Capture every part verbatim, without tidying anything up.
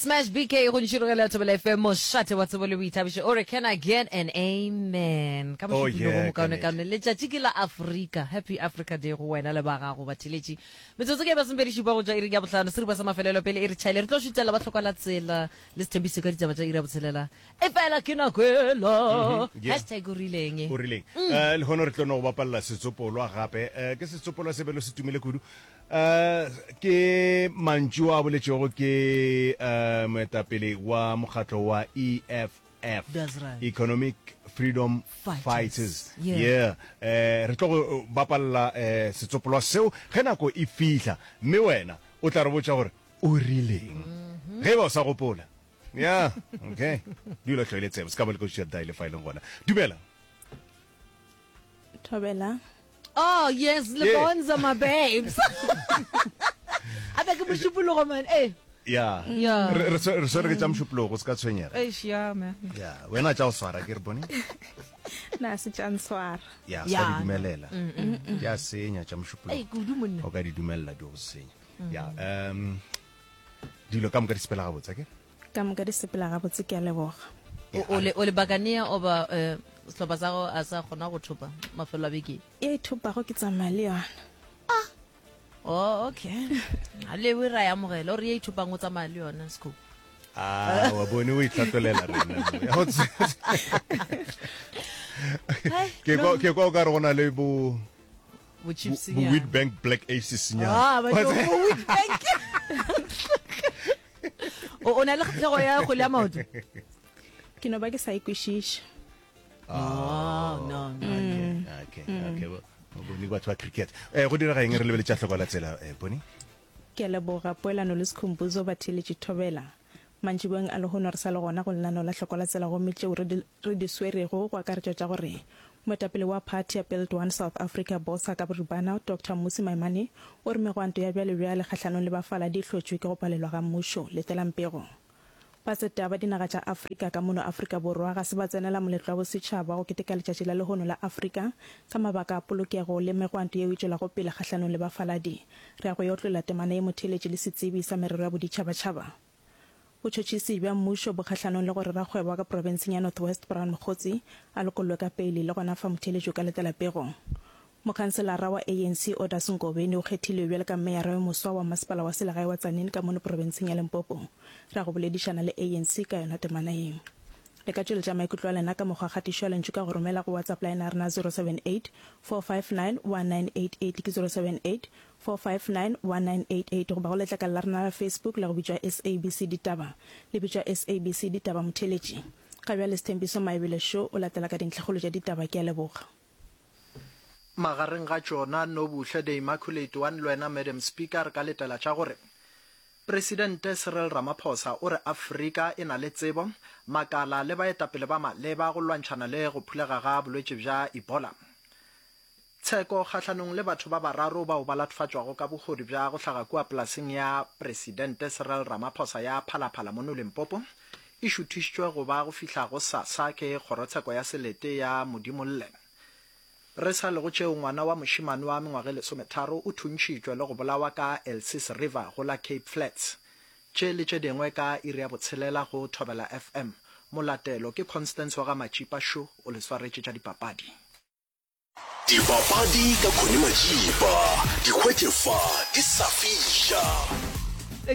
Smash B K go ntšhirogela Thobela F M, mošate wa tsebo le boithabišo. O re, "Can I get an amen?" Ka Oh, mošupologo yeah, mokaone ka kaone, letšatši ke la Afrika. Happy Africa Day go wena le ba gago batheletši. Metsotso ke masomepedi šupa go tšwa iring ya bohlano, seripa sa mafelelo pele e re tšhaile. Re tlo šutela ba hloka la tsela le sethembiso ka ditaba tša iri ya botshelela, e fela ke nako ela. Yeah. Hashtag o rileng? O rileng? um lehono re tlo no go bapalela setsopolwa gape. um ke setsopolwa se belo se tumile kudu. um ke mantšu a boletšego ke um moetapele wa mokgatlo wa E F F, That's right. Economic Freedom Fighters. Fighters. Yeah. Yeah, um re tlo go bapalela um setsopolwa seo ge nako e fihla, mme wena o tla re botša gore o rileng ge e ba o sa gopola. Yeah, okay, dula tlhoile tsebo se ka ba le koši ya diale fa e leng gona. Dumela. Thobela. Oh yes, Lebonza, my babes. Abe ke mošupologo, man. Eh. Ya. Yeah. re re swe- re swere ke tša mošupologo, se ka tshwenyega. Eish, yeah, man. Ya, wena tša go swara ke re bone. Na se tša ntshwara. Ya, se Ya. ka di dumelela, di a senya tša Ei, mošupologo. Kudu, monna. O ka di dumelela di go senya. Ya, um dilo ka moka di sepela gabotse ke Ka moka di sepela gabotse, ke a leboga. O o le o le bakanea oba eh sehlopha sa go a sa kgona go thopa mafelo a beke? E thopago ke tsamaya le yona. Oh, okay. A lewe ra ya amogela o re ye ithopang o tsamaya le yona sco. Ah, wa bone o itlhatolela rena mo. Ya go tse- ke kwa ke kwa o ka re go na le bo Bo bo chips. bo Witbank Black Aces nyana. Ah, ba bo Witbank. O o na le kgatlhego ya kgwele ya maoto? Ke no ba ke sa e kwešiše. Oh, no, no. okay okay okay bo bone batho ba cricket. eh go direga eng? Re lebeletša hloko la tsela, eh bone. Ke a leboga, Poelano le Sekhumbuzo. Batheeletši, thobela. Mantšiboeng a lehono re sa le gona go lenaneo la Hloko la Tsela, gomme tšeo re di, re di swerego go akaretšwa tša gore moetapele wa phathi ya Build One South Africa, BOSA ka boripana, Doctor Mmusi Maimane o re megwanto ya bjalebjale kgahlanong le bafaladi e hlotšwe ke go palelwa ga mmušo. Letelang pego. Batseta ba dinaga tša Afrika ka mono Afrika Borwa ga se ba tsenela moletlo wa bosetšhaba wa go keteka letšatši la lehono la Afrika ka mabaka a polokego le megwanto yeo e tšwelago pele kgahlanong le bafaladi. Re ya go e otlolla temana ye, motheeletši, le setsebi sa merero ya boditšhabatšhaba. Botšhotšhisi bja mmušo bo kgahlanong le gore rakgwebo wa ka profenseng ya North West Brown Mogotsi a lokollwe ka peile. Le gona fa, motheeletši, o ka letela pego. Mokhanselara wa A N C Odas Ngobeni o kgethilwe bjalo ka meyara yo moswa wa masepala wa selegae wa Tzaneen ka mono profenseng ya Limpopo. Re ya go boledišana le A N C ka yona temana ye. Le ka tšweletša maikutlo a lena ka mokgwa kgatišo ya lentšu ka go romela go WhatsApp line ya rena zero seven eight, four five nine, one nine eight eight, ke zero seven eight, four five nine, one nine eight eight, goba go letlakala la rena la Facebook la go bitšwa S A B C Ditaba, le bitšwa S A B C Ditaba. Motheeletši, ga bjale Sethembiso Maebele Show o latela ka dintlhakgolo tša ditaba. Ke a leboga. Magareng ga tšona, Nobuhle the Immaculate One le wena, Madam Speaker, re ka letela tša gore Presidente Cyril Ramaphosa o re Afrika e na le tsebo, makala le baetapele ba maleba go lwantšhana le go phulega ga bolwetši bja Ebola. Tsheko kgahlanong le batho ba bararo bao ba latofatšwago ka bohodu bja go hlaga kua polaseng ya Presidente Cyril Ramaphosa ya Phalaphala mono Limpopo e šuthišitšwe go ba go fihla go sasa ke kgorotsheko ya selete ya Modimolle. Re sa le go tšeo, ngwana wa mošemane wa mengwaga e lesometharo o thuntšhitšwe le go bolawa ka Elsies River go la Cape Flats. Tše le tše dingwe ka iri ya botshelela go Thobela F M. Molatelo ke Constance wa ga Matšipa Sho o le swaretše tša dipapadi. Dipapadi ka Connie Matšipa, di hwetše fa di sa fiša.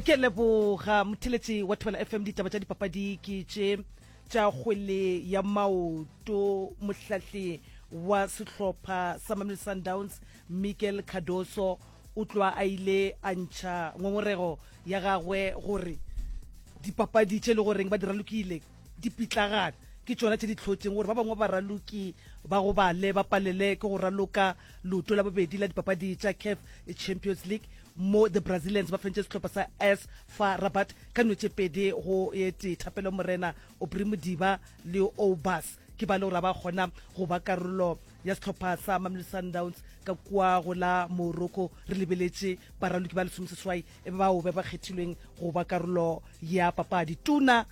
Ke leboga, motheletši wa Thobela F M. Ditaba tša dipapadi ke tše tša kgwele ya maoto. Mohlahli wa sehlopha sa Mamelodi Sundowns Miguel Cardoso o tloa a ile a ntšha ngongorego ya gagwe gore dipapadi tše le goreng ba di ralokile di pitlagana ke tšona tše di tlhotseng gore ba bangwe baraloki ba go bale ba palele ke go raloka leoto la bobedi la dipapadi tša CAF Champions League, mo the Brazilians ba fentše sehlopha sa A S FAR Rabat ka nno tše pedi go e tee. Thapelo Morena, Aubrey Modiba le Obas ke ba le gore ba kgona go ba karolo ya sehlopha sa Mamelodi Sundowns ka kua go la Morocco. Re lebeletše baraloki ba lesomeseswai bao ba ba kgethilweng go ba karolo ya papadi. Tona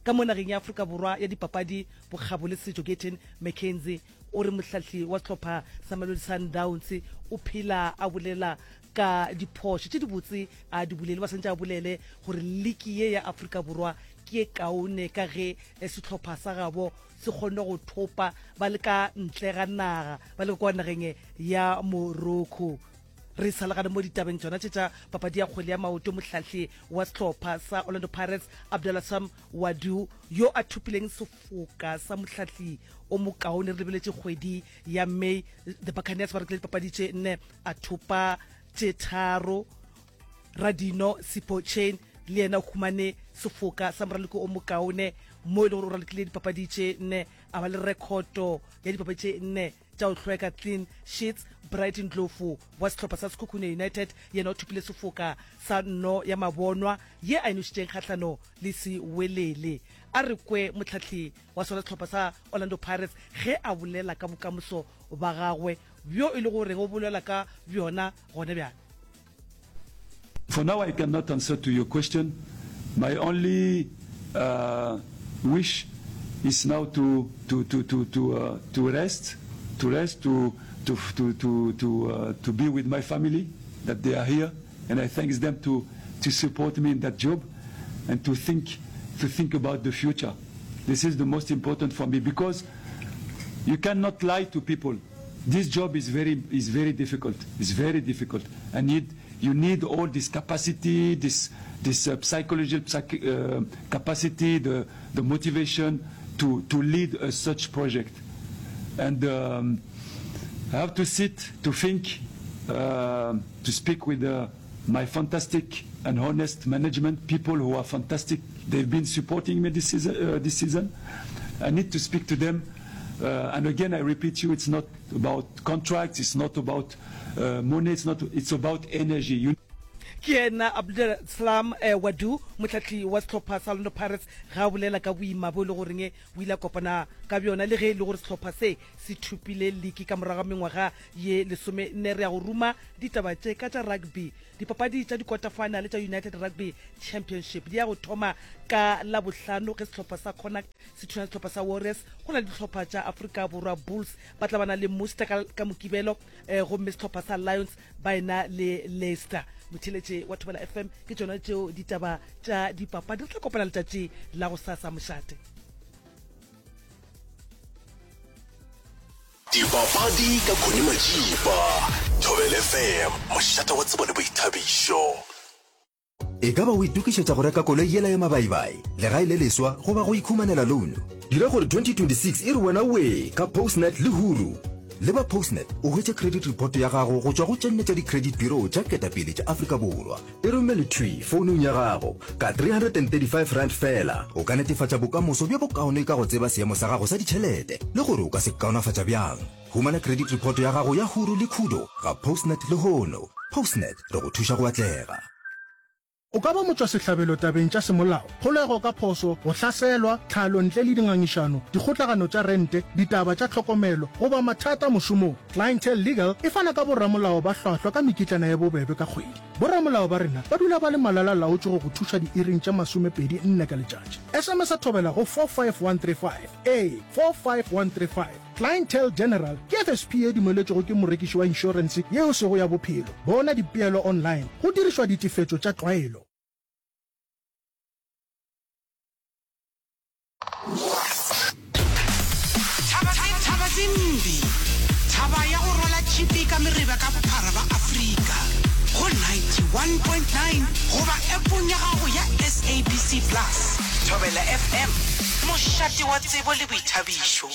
ka mo nageng ya Afrika Borwa ya dipapadi, bokgabo le setšo, Gayton McKenzie, o re mohlahli wa sehlopha sa Mamelodi Sundowns o phela a bolela ka diphošo tše dibotse a di bolele ba santse a bolele gore liki ye ya Afrika Borwa ke e kaone ka ge sehlopha sa gabo se kgonne go thopa ba le ka ntle ga naga ba le kwa nageng ya Morocco. Re sa legane mo ditabeng tšona tše tša papadi ya kgwele ya maoto, mohlahli wa sehlopha sa Orlando Pirates Abdallah Wadu yo a thopileng sefoka sa mohlahli o mokaone re lebeletše kgwedi ya May, the Buccaneers ba rekile dipapadi tše nne a thopa tše tharo. Radino Sipho Chain le yena o humane sefoka sa moraloko o mokaone mo e le gore o ralokile dipapadi tše nne a ba le rekhoto ya dipapadi tše nne tša go hlweka, clean sheets. Bright Ndlovu wa sehlopha sa Sekhukhune United yena o thopile sefoka sa nno ya mabonwa ye a e nošitšeng kgahlano le Sewelele. A re kwe mohlahli wa sona sehlopha sa Orlando Pirates ge a bolela ka bokamoso ba gagwe bjo e le goreng o bolela ka bjona gona bjale. For now I cannot answer to your question. My only uh, wish is now to to to to to uh, to rest, to rest, to to to to to, uh, to be with my family that they are here, and I thank them to to support me in that job, and to think to think about the future. This is the most important for me because you cannot lie to people. This job is very is very difficult. It's very difficult. I need you need all this capacity, this this uh, psychological psych, uh, capacity, the the motivation to to lead a such project. And um, I have to sit, to think, uh, to speak with uh, my fantastic and honest management, people who are fantastic. They've been supporting me this season. Uh, this season. I need to speak to them. Uh, and again, I repeat you, it's not about contracts, it's not about uh, money, it's not. It's about energy. You Ke yena Abdeslam eh, Ouaddou, mohlahli wa sehlopha sa Orlando Pirates, ge a bolela ka boima bo e le goreng o ile a kopana ka bjona le ge e le gore sehlopha se se thopile liki ka morago ga mengwaga ye lesome nne. Re ya go ruma ditaba tše ka tša rugby. Dipapadi tša dikota-final tša United Rugby Championship di ya go thoma ka Labohlano ge sehlopha sa Connacht se thuna sehlopha sa Warriors. Go na le dihlopha tša Afrika Borwa Bulls ba tla ba na le Munster ka, ka Mokibelo eh, gomme sehlopha sa Lions ba ena le Leicester. Motheletše wa Thobela F M ke tšona tšeo ditaba tša dipapadi. Re tla kopana letšatši la go sasa mošate. Dipapadi ka Connie Majiba, Thobela F M, mošate wa tsebo le boithabišo. E ka ba o itokišetša go reka koloi yela ya mabaibai, legae le leswa goba go ikhumanela loan? Dira gore twenty twenty-six e re wena wee ka Postnet le Huru. Le ba Postnet o hwetše credit report ya gago go tšwa go tše nne tša di-credit bureau tša ketapele tša Afrika Borwa. E romele thwi founung ya gago ka three hundred and thirty-five rand fela. O ka netefatša bokamoso bjo bokaone ka go tseba seemo sa gago sa ditšhelete le gore o ka se kaonafatša bjang. Humana credit report ya gago ya Huru le Khudo ga Postnet lehono. Postnet re go thuša go atlega. O ka ba motšwasehlabelo tabeng tša semolao, kgolego ka phoso, go hlaselwa, tlhalo ntle le dingangišano, dikgotlagano tša rente, ditaba tša tlhokomelo, goba mathata mošomong. Clientele Legal e fana ka boramolao ba hlwahlwa ka mekitlana ya bobebe ka kgwedi. Boramolao ba rena ba dula ba le malala-laotšwe go go thuša diiring tša masomepedi nne ka letšatši. S M S a thobela go four five one three five. Ee, four five one three five. Clientele General ke F S P ye dumeletšwego ke morekiši wa inšorense yeo sego ya bophelo. Bona dipeelo online go dirišwa ditefetšo tša tlwaelo. Thaba tse mbi, thaba ya go rwala tšhipi ka mereba ka bophara ba Afrika go ninety-one point nine goba appong ya gago ya S A B C Plus. Thobela F M, mošate wa tsebo le boithabišo.